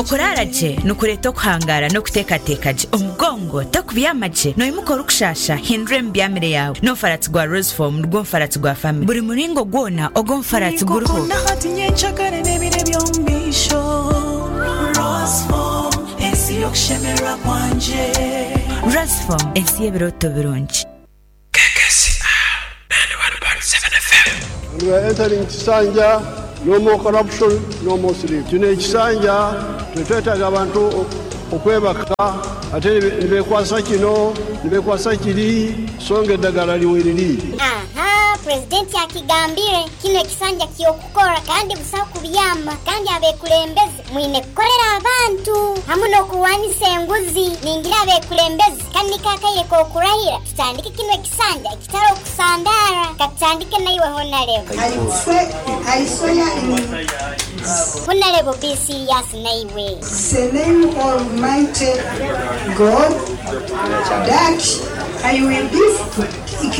Okuraara gye nikureeta okuhangaara n'okuteekateeka gye. Omugongo tokubyama gye, noimuka orikushaasha, hindura emibyamire yaawe. N'omufaratsi gwa Rosefoam nigwo mufaratsi gwa famire. Buri muringo gwona ogw'omufaratsi guriho. Ninkukunda hati, nyencakare n'ebiro eby'omu maisho. Rosefoam, ensi y'okushemererwa kwangye. Rosefoam, ensi y'ebirooto birungi. KKCR 91.7 FM. And we are entering kisanja, no more corruption, no more sleep. Kino ekisanja tetwetaaga abantu okwebaka ate nibekwasa kino, nibekwasa kiri, so nga eddagala liweriri. Ahaa, Pulezidenti akigambire, kinu ekisanja ky'okukora kandi busaho kubyama kandi abekulembeze mwine kukolera abantu hamu n'okurwanisa enguzi. Ningira abekulembeze kanu niko akaire k'okurahira tutandike kinu ekisanja ekitari okusandaara. Katutandike naiwe Honarebo. I swear in. Honarebo be serious naiwe. The name of mighty God that I will be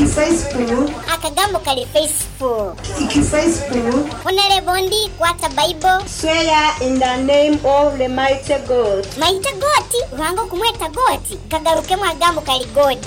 faithful. Akagambo kali faithful. Faithful. Honarebo ndi kwata Bible. Swear in the name of the mighty God. Mighty God? Ruhanga okumweta God? Kagarukemu akagambo kali God.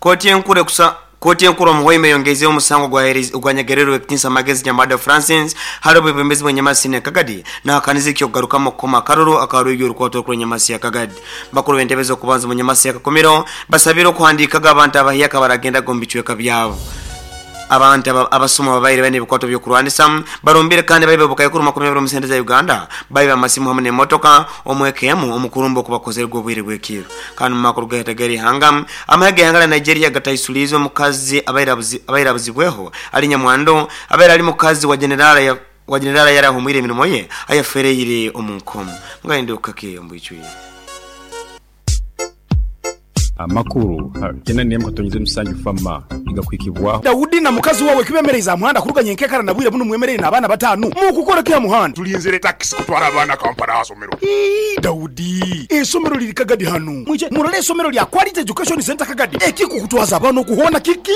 Kooti enkuru ekusa Kooti enkuru omu Hoima eyongeizeho omusango ogwanyegererwe Ekitinisa Magezi Nyamado Francis hali obwebembezi bw'enyamasi ya Kagadi nahakaniza eky'okugarukamu okukoma akaruru aka rwigi orukwato orukuru enyamasi ya Kagadi. Bakuru b'entebe z'okubanza omu nyamasi ya Kakumiro basabire okuhandiikaga abantu abahyaka abaragendaga omu bicweka byabo. Abantu abasuma ababaire baine ebikwato by'okurwanisa barumbire kandi baiba obukaikuru 20 omu sente za Uganda, baiba amasimu hamu n'emotoka omu eka emu omu kurumba okubakozerwe obwire bw'ekiiro. Kandi omu makuru gahita g'erihanga, amahe g'eihanga lya Nigeria gataisuliize omukazi abaire abaire abuzibweho ali nyamwando abaire ali mukazi wa General wa General ayari ahumwire emirimo ye ayafereire omu nkomo. Mugahindukake ki omu bwijwire? Amakuru kyenda n'emwe katonyeza omusanju FAMA nigakuhikibwaho. Daudi na mukazi wawe kibemereize aha muhanda kuruga nyenkekara na bwire bunu mwemereire n'abaana bataanu. Mukukora ki aha muhanda? Tulinzire takisi kutwara abaana Kampala aha somero. Ii, Daudi, eisomero liri Kagadi hanu. Mwije murole eisomero lya Quality Education Centre Kagadi. Ekikukutwaza abaana oku hoona kiki?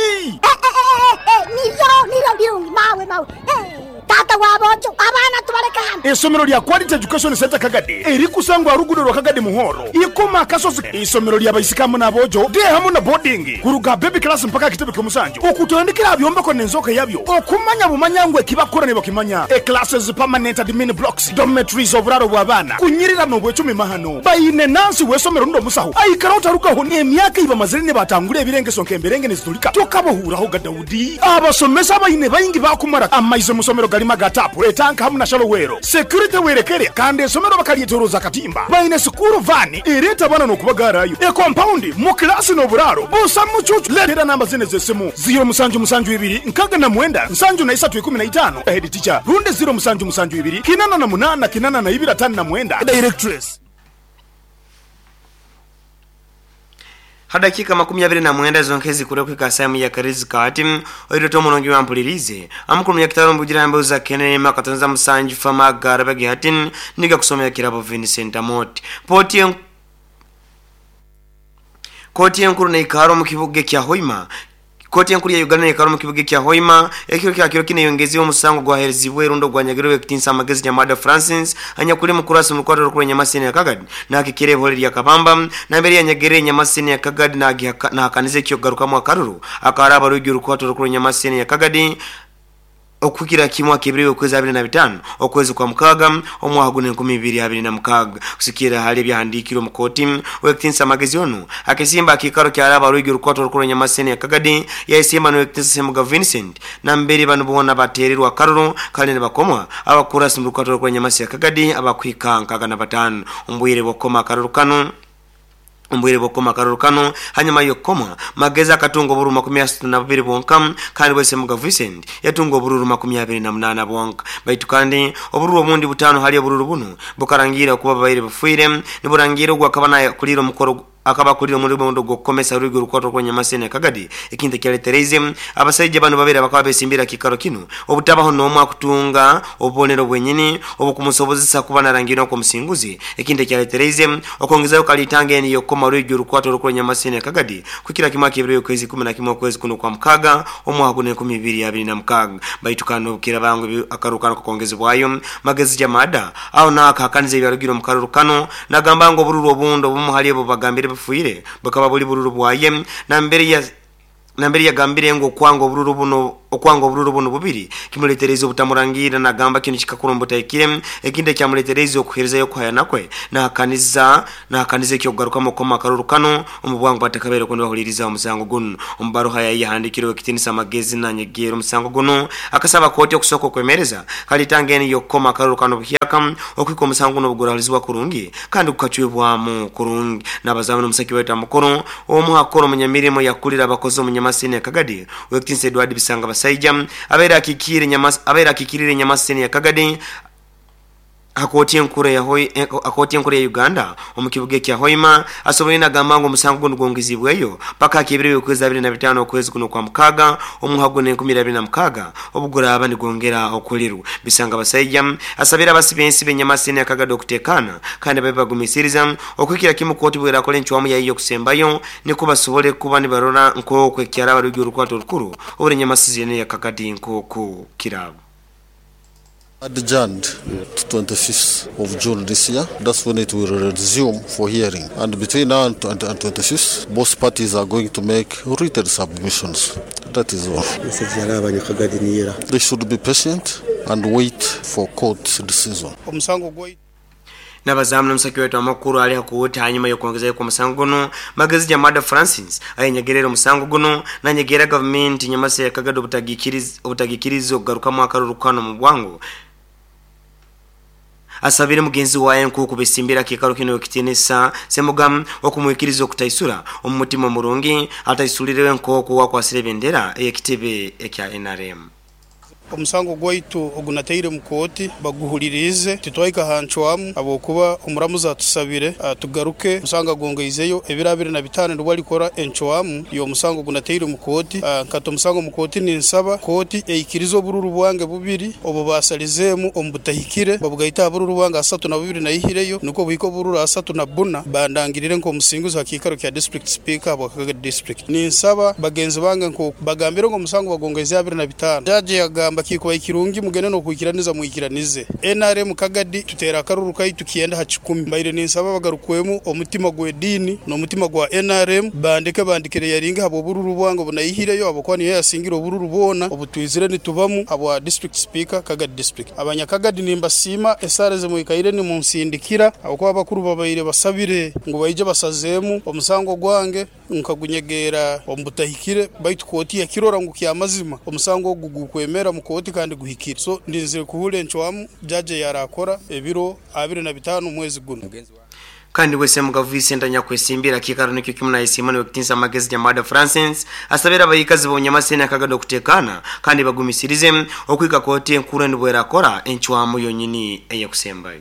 Nibyo, nibyo birungi mawe mawe. Taata wa boojo, abaana tubaleke hano. Eisomero lya Quality Education Centre Kagadi erikusangwa aha luguudo lwa Kagadi Muhoro, Ikoma Akasozi. Eisomero lya baisiki hamu n'aboojo, day hamu na boarding, kuruga aha baby class mpaka aha kitebe ky'omusanju, okutandikira aha byombeko n'enzooka yabyo, okumanya bumanya ngu eki bakukora nibakimanya. E Classes, permanent admin blocks, dormitories, oburaaro bw'abaana, kunyirira n'obwecumi mahano. Baine nansi w'eisomero rundi omusaho aikara otarugaho n'emyaka ei bamazire nibatangura ebirengeso nk'emberenge nizitulika tokabahuurahoga Daudi. Abasomesa abaine baingi baakumara amaizi omu somero garimu aga taapu, etanka hamu na shalowero. Security werekere kandi esomero bakaryetoroza akatimba. Baine sikuuru vaani ereeta abaana n'okubagaarayo. Ekompaundi, mu kilaasi n'oburaaro busa mucuucu. Leetera namba zinu ez'esimu, ziiro musanju musanju ibiri nkaga na mwenda nsanju na isatu ikumi na itaano, Head teacher, rundi ziiro musanju musanju ibiri kinana na munaana kinana na ibiri atano na mwenda, Directress. Ha dakiika 29 zonka ezikura okuhika saaha emwe ya karizi kaati, oirwe Tom Omulungi wampuliriize. Amukuru Munyakitara omu Bugira Emboozi za Kenene Makatonza Musanju Fama Agara Bagi hati nigakusomera Kirabo Vincent Amooti. Pooti en Kooti enkuru neikara omu kibuga ekya Hoima Kooti enkuru ya Uganda neikara omu kibuga ekya Hoima ekiro kya kiro kinu eyongeziibwe omusango ogwaheerezibwe rundi ogwanyagirwe Ow'ekitinisa Amagezi Nyamwada Francis anyakuli mukurasi omu rukwata orukuru Enyamasini ya Kagadi nahakikira ebihore lya Kabamba nambere yanyagirire Enyamasini ya Kagadi nahakaniza eky'okugarukamu akaruru akaraaba rwigi orukwata orukuru Enyamasini ya Kagadi Okuhikira kimu ak'ebiro by'okwezi 25 okwezi kwa mukaaga omwaka gunu 2026. Kusigikirra hali ebyahandiikirwe omu kooti, Ow'ekitinisa Magezi onu akesimba aha kiikaro kya Raaba Rwigi Rukwato Orukuru Nyamaseni ya Kagadi yayesimba n'Ow'ekitinisa Ssemuga Vincent nambere banu boona bateerirwe akaruru kandi nibakomwa abakurasi omu Rukwato Orukuru Nyamasi ya Kagadi abakuhika 65 omu bwire bw'okukoma akaruru kanu. Omu bwire bw'okukoma akaruru kanu, hanyuma y'okukomwa, Magezi akatunga obururu 32 bwonka kandi Bwesemuga Vincent yatunga obururu 28 bwonka. Baitu kandi, obururu obundi butaano hali obururu bunu bukarangiira okuba bubaire bufiire niburangiira ogu akaba nakuliire omukoro Akaba akulire omulimo ogw'okukomesa rwigi orukwatwa kwa Nyamasene Kagadi. Ekintu ekyaletereize abasaija bano babiri bakaba besimbira kikaro kinu obutabaho n'omwe akutunga obubonero bwenyini obukumusobozesa kuba narangirwa nk'omusinguzi. Ekintu ekyaletereize okwongezayo kalitanga eni yokukoma rwigi orukwatwa orukwa Nyamasene Kagadi kukira kimwe ak'ebiro okwezi 11 okwezi kuno kwa mukaga omwaka guno 2026. Baitu kano obukira bangu akarukano kakongezebwayo Magezi Jamada aho naakahakaniza ebyarugire omu karuru kano, nagamba ngu obururu obundi obumu hali ebo bagambire bufuire bukaba buli bururu bwaye. Nambere yagambire ngu okwanga obururu buno bubiri kimuletereza obutamurangira, nagamba kino kikakura omubutahikire. Ekindi ekyamuletereza okuherezayo okuhayana kwe nahakaniza ekyokugarukamu okukoma akaruru kano omu bwangu batakabaire kundi bahuliriza omusango guno. Omubaruha yaye yahandikirwe ekitinisa Magezi nanyegera omusango guno, akasaba kooti okusooka okwemereza kalitanga eni yokukoma akaruru kano buhyaka okwika omusango guno obugurahulizibwa kurungi kandi gukacwibwamu kurungi. N'abazamu n'omusaki waitu amukuru omuhakora omunyamirimo yakulira abakozi omunyamasini ya Kagadi wekitinisa Edward Bisanga Basaija abaire akikirire Nyamasini ya Kagadi akooti enkuru ya Uganda omu kibuga ekya Hoima asoboire nagamba ngu omusango guno gwongezibweyo paka ak'ebiro okwezi 25 okwezi kuno kwa mukaga omwaka guno 2026 obuguraba nigwongera okulirwa. Bisanga Basaija asabira abasibensi b'Enyamasini ya Kagadi okutekana kandi babe bagumisiriza okwikira kimu kooti bwerakola encwamu yayo okusembayo niko basobole kuba nibarora nk'oku ekyaraba rugi orukwata orukuru oburi Nyamasini ya Kagadi nk'oku kiraba. Adjourned to 25th of June this year. That's when it will resume for hearing. And between now and 25th, both parties are going to make written submissions. That is all. They should be patient and wait for court's decision. N'abazamu n'omusaki waitu amakuru ali hakuwuta hanyuma y'okwongezayo kwa musango guno Magezi Jamada Francis ayenyegerera omusango guno nanyegera gavumenti Nyamasa ya Kagadi obutagikiriza okugarukamu akaruru kano mu bwangu. Asabire mugenzi waye nkuku besimbira kikaro kino ekitinisa Semugamu okumwikiriza okutaisura omu mutima omurungi ataisulire nkoku wakwasire bendera ey'ekitebe ekya NRM. Omusango gwaitu ogunateire mu kooti baguhulirize titwaika hancwamu habwokuba omuramuzi atusabire tugaruke omusango agongeizeyo ebiro 25 nibwo alikora encwamu y'omusango gunateire mu kooti. Nkata omusango mu kooti ninsaba kooti eikirize obururu bwange bubiri obu basalizeemu omu butahikire babugaita aha bururu bwange 32 naihireyo nukwo buhika obururu 34 bandangirire nk'omusinguzi ha kiikaro kya district speaker habwa Kagadi district. Ninsaba bagenzi bange nko bagambire ngu omusango bagongeize 25 jaji yagamba kikuba ikirungi mugende nokwikiraniza mwikiranize. NRM Kagadi tutera akaruru kaitu kienda ha 10. Mbaire ninsaba bagarukwemu omutima gw'ediini n'omutima gwa NRM bandike bandikire yaringa habwa obururu bwange obunayihireyo habwokuba niyo yasingira obururu bwona obutwizire nitubamu habwa district speaker Kagadi district. Abanyakagadi nimbasiima esaara ezimwikaire nimunsindikira habwokuba abakuru babaire basabire ngu baije basazeemu omusango gwange nkagunyegera omu butahikire baitu kooti yakirora ngu kyamazima omusango ogu gukwemera mu kooti kandi guhikire. So ndinzire kuhura encwamu jaji yarakora ebiro 25 mwezi guno. Kandi wese Mugavu Vincent anyakwesimbira kikaro nikyo kimu na Simon wekitinsa Magezi Jamada Francis asabira abayikazi b'Onyamasene Akagado okutekana kandi bagumisirize okwika kooti enkuru nibwerakora encwamu yonyini eyakusembayo.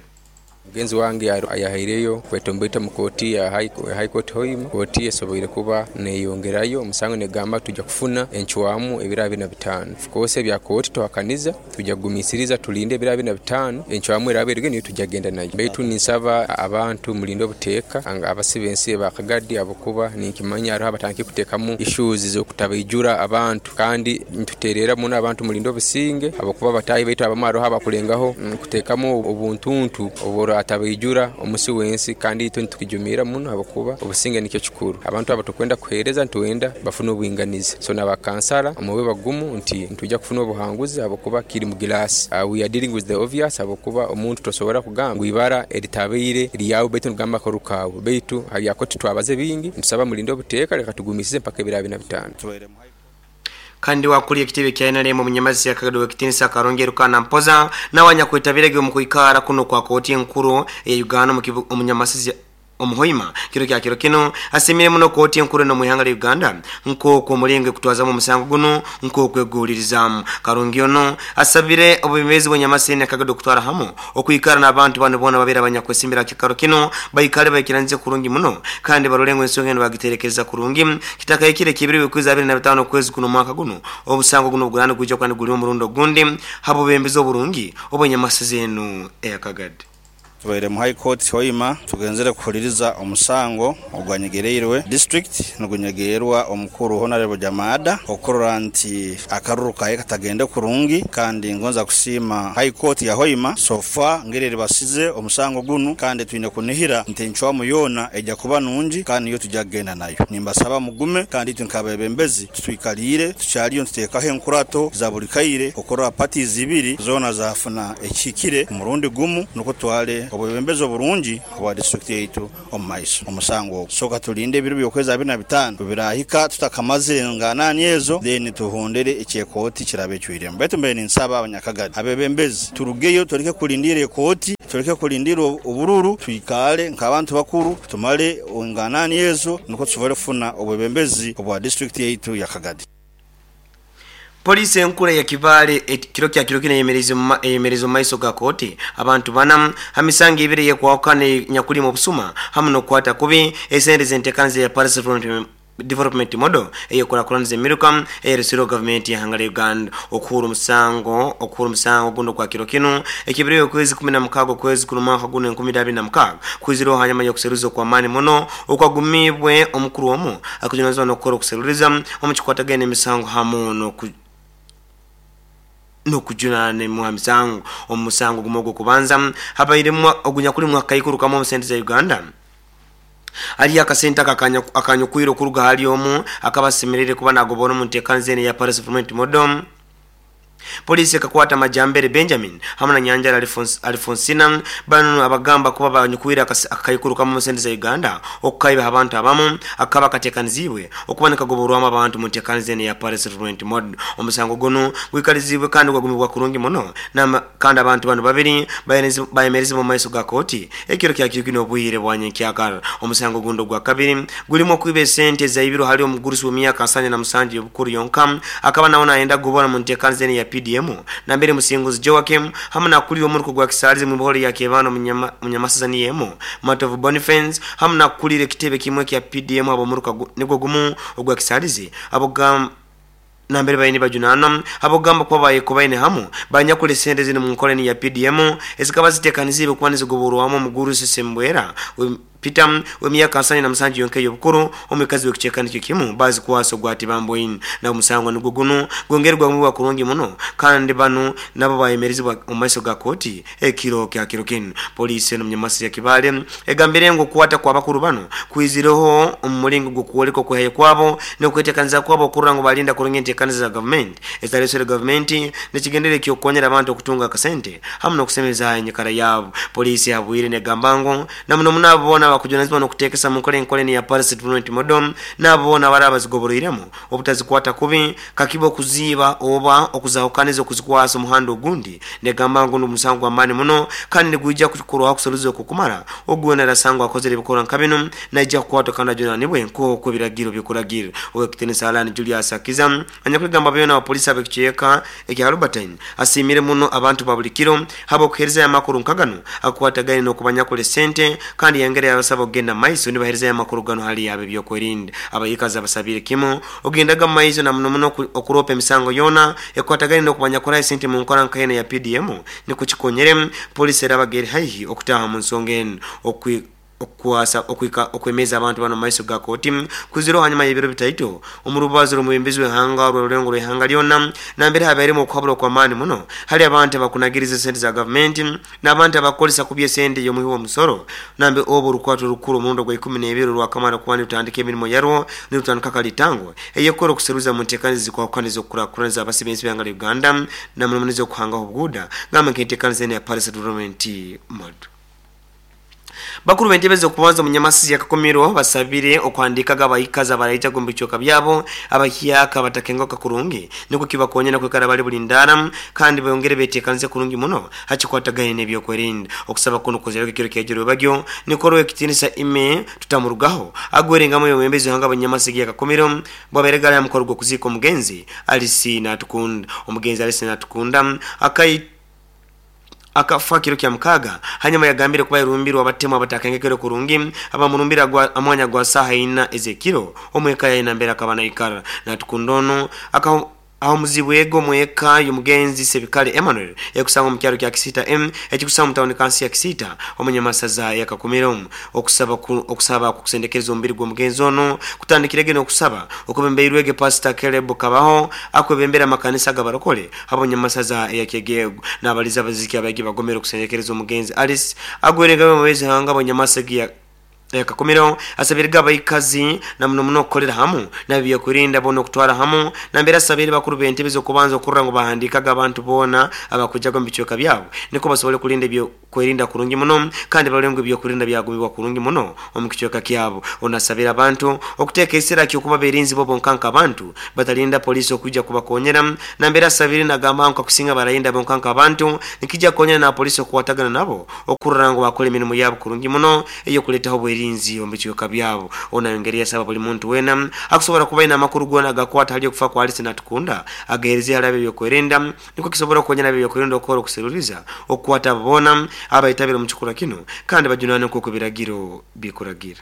Mugenzi wange yahaireyo kwetomboita mu kooti ya High Court Hoima. Kooti esoboire kuba neyongerayo omusango negamba tujja kufuna encwamu ebiro 25. Of course ebya kooti tuhakaniza tujja kugumisiriza tulinde ebiro 25 encwamu eraba eruge niyo tujja genda nayo. Baitu ninsaba abantu mulinde obuteeka abasibe ensi ba Kagadi abakuba ninkimanya hariho abatandikire kuteekamu issues z'okutabaijura abantu kandi nituterera muno abantu mulinde obusinge abakuba batahi baitu abamu hariho abakulengaho kuteekamu obuntuntu obura atabaijura omusi wensi kandi itwe nitukijumira muno abakuba obusinge nikyo kikuru. Abantu aba tukwenda kuhereza ntuwenda bafuna obwinganizi. So nabakansala omube bagumu nti ntujja kufuna obuhanguzi abakuba kiri mu glass. We are dealing with the obvious abakuba omuntu tosobora kugamba ngu ibara eritabaire lyawe baitu nigamba karukawe baitu habyakoti twabaze bingi ntusaba mulinde obuteeka leka tugumisize mpaka ebiro 25. Kandi wakuli ekitebe kya NRM omunyamazi ya Kagado wekitinisa Karongero kana Mpoza nawanya kwetabirege mu kuikara kuno kwa kooti enkuru ya Uganda omunyamasizi Omu Hoima kiro kya kiro kinu asiimire muno kooti enkuru eno omu ihanga lya Uganda nk'oku omulingo ekutwazamu omusango gunu nk'oku eguhulirizaamu. Karungi onu asabire obwebembezi bw'Enyamasindi na Kagadi okutwara hamu okwikara n'abantu banu boona ababaire abanyakwesimbira aha kiikaro kinu baikale baikiranize kurungi muno kandi barole ngu ensonga enu bagiterekereza kurungi kitakahikire ekibiro by'okwezi 25 okwezi kuno omwaka gunu obusango gunu obuguraaba nigwija kuba niguli omurundi ogundi habw'obwebembezi oburungi obw'Enyamasezi enu eya Kagadi. Tubaire mu High Court Hoima tugenzere kuhuliriza omusango ogwanyegereirwe district nigunyegeerwa omukuru Honarebo Jamada okurora nti akaruru kaye katagende kurungi kandi ngonza kusiima High Court ya Hoima so far ngeri eribasize omusango gunu kandi twine kunihira nti encwamu yoona eja kuba nungi kandi niyo tuja kugenda nayo. Nimbasaba mugume kandi itwe nk'abebembezi Tutwikaliire tukyaliyo nituteekaho enkurato za buli kaire okurora parties ibiri zoona zafuna ekihikire omurundi gumu nukwo tutwale obwebembezi oburungi obwa district yaitu omu maiso. Omusango ogu soka tulinde ebiro by'okwezi 25 bwebirahika tutakamazire enganani ezo then tuhondere eki ekooti kiraba ecwiremu. Baitu mbaire ninsaba abanyakagadi abebembezi turugeyo tuleke kulindiira ekooti, tuleke kulindiira obururu, twikaale nk'abantu bakuru tumale enganani ezo nukwo tusobole kufuna obwebembezi obwa disiturikiti yaitu ya Kagadi. Poliisi enkuru eya Kibaale kiro kya kiro kinu eyemereize omu maiso ga kooti abantu bana ha misango ebiri eyekwahukana enyakulimu obusuma hamu n'okukwata kubi esente z'entekaniza eya Paris Development Model ey'ekurakuraniza emiruka eyeresirweho gavumenti y'ihanga lya Uganda okuhurra omusango okuhurra omusango gunu ogwa kiro kinu ekibireyo okwezi 16 okwezi kuno omwaka gunu 2026 kwizireho hanyuma y'okuseruliza okw'amaani muno okwagumiibwe omukuru omu akujunanizibwa n'okukora okuseruliza omu kikwatagaine n'emisango hamu n'oku n'okujunaanwa ha misango. Omu musango gumu ogw'okubanza habairemu ogunyakulimu akakaikuru kamu omu sente za Uganda. Haliyo akasente ako akanyukwire okuruga hali omu akaba asemeriire kuba nagobora omu ntekaniza enu eya Paris Settlement Model. Poliisi ekakwata Majambere Benjamin hamu na Nyanjara Alifonsina banu abagamba kuba banyukwire akakaikuru kamu omu sente za Uganda okukaiba ha bantu abamu akakaba katekaniziibwe okuba nikagoborwamu abantu omu ntekaniza enu eya Paris Settlement Model. Omusango gunu gwikaliziibwe kandi gwagumibwa kurungi muno kandi abantu banu babiri bayemerezibwa omu maiso ga kooti ekiro kya Kiikino obwire bwa nyenkyakara. Omusango ogundi ogwa kabiri gulimu okwiba esente ezaibirwe hali omugurusi w'emyaka 77 y'obukuru yonka akaba nawe nayenda kugobora omu ntekaniza enu eya PDM nambere Musinguzi Joachim hamu nakulira omuruka gwa Kisaalizi mwibaholo lya Kyebando Munyamasasa niyo emu Matovu Bonifence hamu nakukulira ekitebe kimwe ekya PDM habw'omuruka nigwo gumu ogwa Kisaalizi abogamba Nambere baine nibajunanwa habw'okugamba kuba bayekobaine hamu banyakura esente zinu omu nkora enu ya PDM ezikaba zitekaniziibwe kuba nizigoborwamu omugurusi Sembwera Peter ow'emyaka 77 yonka ey'obukuru omwikazi w'ekicweka nikyo kimu bazikwasa ogwa Tibamboine. Nabwo omusango nugwo gunu gwongeire gwagumibwa kurungi muno kandi banu nabo bayemerezibwa omu maiso ga kooti ekiro kya kiro kinu. Poliisi enu omu ya Kibaale egambire ngu okukwata kw'abakuru banu kwizireho omu mulingo gw'okwoleka okwehayo kwabo n'okwetekaniza kwabo okurora ngu balinda kurungi entekaniza za gavumenti ezitaleserwe gavumenti n'ekigendererwa eky'okukonyera abantu okutunga akasente hamu n'okusemeza enyikara yabo. Poliisi ehabwire negamba ngu na muno muno abo boona abakujunanizibwa n'okutekesa mu nkora enkora enu eya Paris Settlement Model n'abo boona abaraba bazigoboroiremu obutazikwata kubi kakibe okuziiba oba okuzahukaniza okuzikwasa omuhanda ogundi. Negamba ngu n'omusango gw'amaani muno kandi nigwija kukorwaho okusaruza okukumara. Ogu weena arasangwa akozere ebikorwa nka binu naija kukwatwa kandi ajunanibwe nk'oku ebiragiro bikuragira. Ow'ekitinisa Allan Julius Akiza anyakwegamba byona wa poliisi ab'ekicweka ekya Albertine asiimire muno abantu ba buli kiro habw'okuheerezayo amakuru nka ganu agakwatagaine n'okubanyakura esente kandi yayongera yabasaba okugenda mu maiso nibaheerezayo amakuru ganu hali ab'ebyokwerinda. Abaikazi abasabiire kimu okugendaga mu maiso na muno muno okuroopa emisango yoona ekwatagaine n'okubanyakuraho esente mu nkora nka enu eya PDM nikwo kikonyere poliisi erabaga eri haihi okutaaha omu nsonga enu. Okukwasa okuhika okwemeza abantu banu omu maiso ga kooti kwizireho hanyuma y'ebiro bitaito omu rubazo rw'omwebembezi w'ihanga orw'orulengo rw'ihanga lyona nambere habairemu okuhabura okw'amaani muno hali abantu abakunagiriza esente za gavumenti n'abantu abakukozesa kubi esente y'omuhi w'omusoro nambe obu orukwato orukuru omurundi ogwa ikumi n'ebiri orwakamara kuba nirutandika emirimo yarwo nirutandika kalitango ey'ekukora okuseruza mu nteekaniza ezikwahukana ez'okukurakuraniza abasi b'ensi b'ihanga lya Uganda na muno muno ez'okuhangaho obuguuda gamba nk'enteekaniza enu eya Paris Development Model. Bakuru b'entebe z'okubanza omu Nyamasizi ya Kakumiro basabire okuhandiikaga abaikazi abaraija omu bicweka byabo abahyaka batakengoka kurungi nikwo kibakonyera kwikara bali bulindara kandi bongere beteekanize kurungi muno hakikwatagaine n'ebyokwerinda. Okusaba kuno kuzireko ekiro kyajiro bagyo nikoro ekitinisa ime tutamurugaho agwerengamu omwebembezi w'ihanga Banyamasigi ya Kakumiro bwaberegala ya mukoro gw'okuziika omugenzi Alice Natukunda. Omugenzi Alice Natukunda akafa kiro kya mukaga hanyuma yagambire kuba irumbirwa abatemu abatakengekere kurungi abamurumbira amwanya gwa saha ina ezekiro omweka ya mbere akaba naikara. Natukundono aho muzibwego mweka y'omugenzi Sebikale Emmanuel ekusanga mu kyalo kya Kisita M ekikusanga mu tawuni kansi ya Kisita omunyamasaza ya Kakumiro. Okusaba kusendekereza omubiri gw'omugenzi ono kutandikirege n'okusaba okubembeirwege Pastor Caleb Kabaho akwebembera amakanisa g'abarokole abanyamasaza ya Kyegego n'abaliza abaziki abagi bagomera okusendekereza omugenzi Alice agwerenga mu mwezi hanga abanyamasaga ya Kakumiro asabiriga abaikazi na muno muno okukolera hamu n'ebyokurinda bona okutwara hamu nambere asabire bakuru b'entebe z'okubanza okurra ngu bahandiikaga abantu boona abakujaga mu bicweka byabo niko basobole kulinda ebyokwerinda kurungi muno kandi barole ngu ebyokurinda byagumibwa kurungi muno omu kicweka kyabo. Onasabira abantu okuteeka esira ky'okuba berinzi bo bonkanka abantu batalinda polisi okujja kubakonyera nambere asabire nagamba ngu kusinga baralinda bonkanka abantu nikijja kukonyera na polisi okukwatagana nabo okurra ngu bakole emirimu yabo kurungi muno ey'okuleetaho obwerinzi omu bicweka byabo. Onayongera yasaba buli muntu wena akusobola kuba ina amakuru gona agakwata hali okufa kwa Alice Natukunda agahereze hali ebyokwerinda niko kisobola okukonyera ebyokwerinda okukora okuseruriza okukwata bona abayitabira omu kikura kino kandi bajunane nk'oku ebiragiro bikuragira.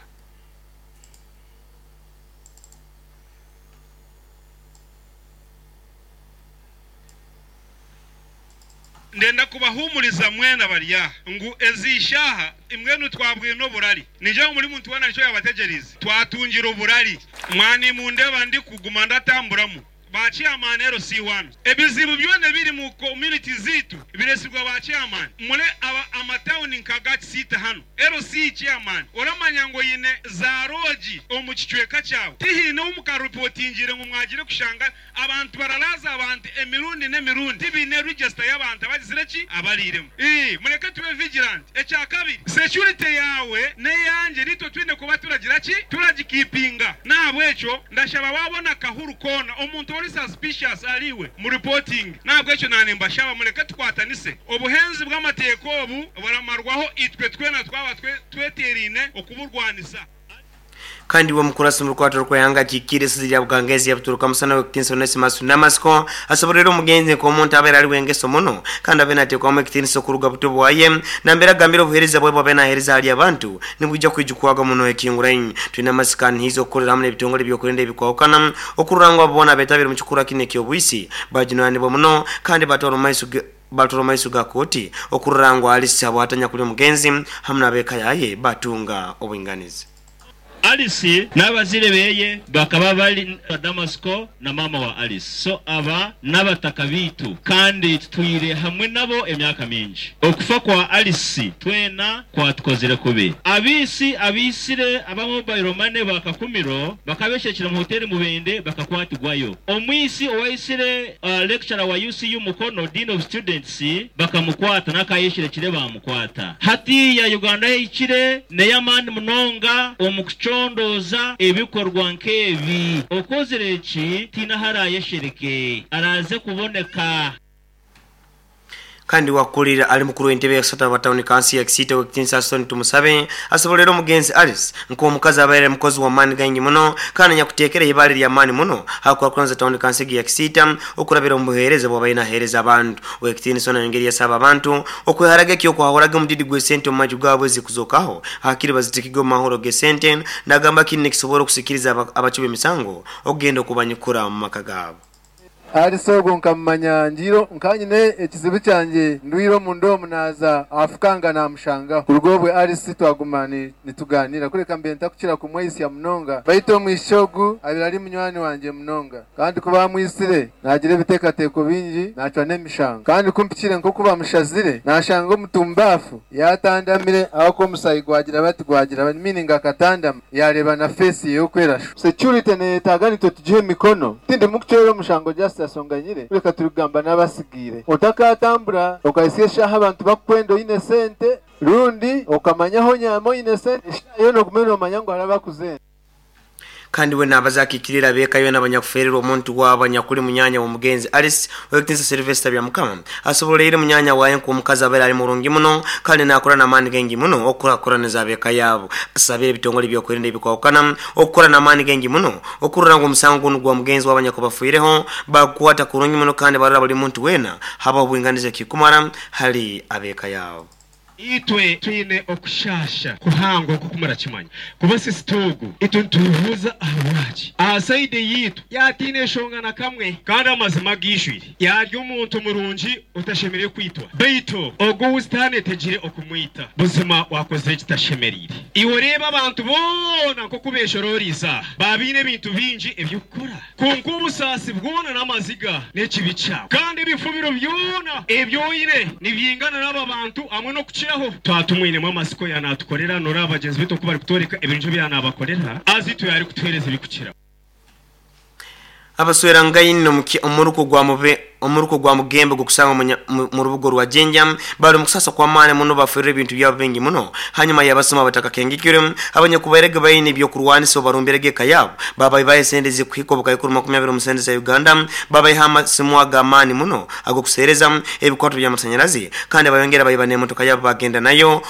Ndenda kubahumuriza mwena barya ngu ezishaha imwenu twabwine oburali nije muri muntu wana nico yabategerize twatungira oburali mwani mundeba ndi kuguma ndatamburamu ba chairman LC1 ebizibu byone biri mu community zitu biresirwa ba chairman mule aba amatown nkagati sita hano LC chairman oramanya ngo yine za roji omu kicweka cyawe tihine umukareportingire ngo mwagire kushanga abantu baralaza abantu emirundi n'emirundi tibine register y'abantu abagizire ki abaliremo mureke tube vigilant. Ekya kabiri security yawe neyanje nitwe twine kuba turagira ki turagikipinga nabwecho ndashaba wabona kahuru kona omuntu ori suspicious aliwe mu reporting nabwo ekyo nanemba shaba mureke tukwatanise obuhenzi bw'amateeko obu baramarwaho itwe twena twaba tweterine okuburwanisa. Kandi wa mkurasa mrukwato rw'ihanga kikire sizi lya Bugangezi yabuturuka musana w'ekitinisa Onesimus Namasko asoborera omugenzi nk'omuntu abeera ali wengeso muno kandi abe nateekwamu ekitinisa okuruga buto bwaye nambere agambire obuheereza bwe bwabe naheereza hali abantu nibwijja kwijukwaga muno ekingurainyi. Twine amasikani hizo okukorera hamwe n'ebitongole ebyokurinda ebikwahukana okurora ngu abo boona abeetabire mu kikura kino eky'obwisi bajunanibwa muno kandi batwara omu maiso ga kooti okurora ngu Alice abwatanya kuli omugenzi hamwe n'abeeka yaye batunga obwinganizi. Alice n'abazire beye bakaba bali Damasco na mama wa Alice so aba n'abataka bitu kandi tutwire hamwe nabo emyaka mingi. Okufa kwa Alice twena kwatukozire kubi. Abisi abisire aba mobile money bakakumiro bakabeshekera mu hoteli mubende bakakwatigwayo. Omwisi owaisire lecturer wa UCU Mukono Dean of Students bakamukwata nakayeshire kire bamukwata. Hati ya Uganda ikire neyamani munonga omukucho ndoza ebikorwa nkebi okozere eki tinahara yeshereke araze kuboneka. Kandi wakulira ali mukuru w'entebe ya Sata wa town council ya Kisita w'ekitinisa Aston Tumusabe asobolera omugenzi Alice nk'omukazi abaire mukozi wa maani gangi muno kandi nyakuteekera ibale lya maani muno hakwakuranza town council ya Kisita okurabira omu buheereza bwabaire naheereza abantu. W'ekitinisa ono engeri yasaba abantu okweharaga ekyokwahuraga omudidi gw'esente omu maju gaabwe zikuzokaho hakiri bazitikige omu mahoro g'esente nagamba kini nikisobola okusikiriza abacuba emisango okugenda okubanyukura mu maka gaabo. Alice ogwo nkamumanya njiro nkanyine ekizibu kyanje ndwiro mundo omunaza afukanga namushanga kurugobwe Alice twaguma nituganira kureka mbe ntakukira kumweyisya munonga baito omwishogu abira ari munywani wanje munonga kandi kuba mwisire nagira ebiteekateeko bingi nacwa n'emishanga kandi kumpikire nko kuba mushazire nashanga omutumbafu yatandamire aho ko omusayi gwagira bati gwagira meaning akatandama yareba na face yokwerasho security neyetaaga nitwe tugihe emikono tindi mukucwera omushango just asonganyire reka turigamba n'abasigire otakatambura okaisye shaha abantu bakwenda oyine sente. Rundi okamanyaho nyama oine sente yo nogumene omanya ngu araba kuzenda. Kandi we nabazakikirira bekayo n'abanyakufererwa omuntu wabo anyakuli munyanya w'omugenzi Alice, Owekitinisa Sylvester Byamukama, asoboleire munyanya waye nk'omukazi abaire ali murungi muno kandi nakora n'amaani gengi muno okukurakuraniza abeka yabo. Asabire ebitongole ebyokwerinda ebikwawukana okukora n'amaani gengi muno okurora ngu omusango gunu gwa mugenzi w'abanyakubafiireho bakukwata kurungi muno kandi barora buli muntu wena haba obwinganiza ekikumara hali abeka yabo. Itwe twine okushasha kuhango okukumara kimanya kuba sisitugu itwe nitubuuza ahabwaki aha side yitu yatiine eshonga na kamwe, kandi amazima gishwire yarya omuntu murungi otashemereire kwitwa, baitu ogwo wusitaani etegire okumwita buzima wakozire ekitashemereire. Iwe oreeba abantu boona nk'oku beeshororize aha babiine ebintu bingi eby'okukora, kwonka obusaasi bwona n'amaziga n'ekibi kyawe kandi ebifubiro byona ebi oine nibyingana n'aba bantu hamwe n'okukiraho. Twatumwinemu amasiko yanatukorera noraba bagyenzi baitu oku barikutworeka ebirungi ebi yanabakorera azi itwe yarikutuheereza ebikukira. Abaswerangaine omuruko gwa mube omuruko gwa mugembe gukusanga mu rubuga rwa Jinja bali mu kusasa kw'amaani muno, baferire ebintu byabo bingi muno hanyuma yabasoma abatakakengekire abanyakubairege baine ebyokurwanisa obarumbirege eka yabo, babayibayo esente zikuhika obukaikuru 20 omu sente za Uganda, babayiha amasimu ag'amaani muno ag'okuseereza ebikwato by'amasanyarazi kandi bayongera bayiba n'emotoka yabo bagenda nayo.